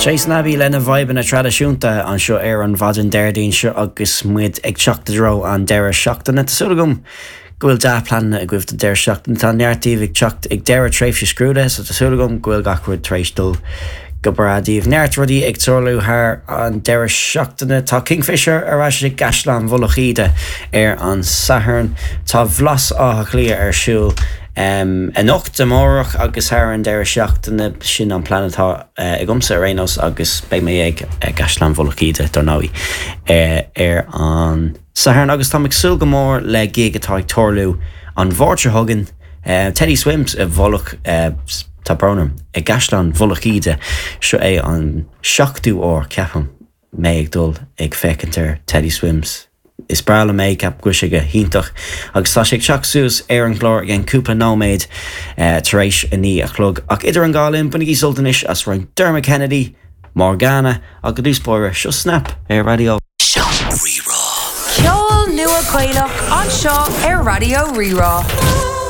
Chase and Abbey lena bhfadhbanna traidisiúnta anseo ar an mhaidin Déardaoin seo agus muid ag teacht i dtreo an deireadh seachtaine. Tá súil agam go bhfuil dea-pleananna agaibh don deireadh seachtaine. Tá neart díobh ag teacht ag deireadh tréimhse scrúdaithe so tá súil agam go bhfuil gach rud tar éis dul go breá daoibh. Neart rudaí ag tarlú thar an deireadh seachtaine. Tá Kingfisher ar ais i gCaisleán Mhullach Íde ar an Satharn. Tá Blas Átha Cliath ar siúl anocht, amárach agus thar an deireadh seachtaine. Sin an plean atá agamsa ar aon nós agus beidh mé ag gCaisleán Mhullach Íde, dar ndóigh, ar an Satharn agus táim ag súil go mór le gig atá ag tarlú an Mháirt seo chugainn, Teddy Swims i bhMullach, tá brón orm, i gCaisleán Mhullach Íde. Seo é an seachtú uair, ceapaim, mé ag dul ag féachaint ar Teddy Swims. Is breá liom é, ceapaim go bhfuil sé go hiontach agus tá sé ag teacht suas ar an gclár i gceann cúpla nóiméad tar éis a 9 a chlog. Ach idir an dhá linn, bainigí sult anois as roinnt Dermot Kennedy, Morgana, ach i dtús báire, seo Snap ar Raidió. Rí-Rá. Ceol nua Gaelach anseo ar Raidió Rí-Rá.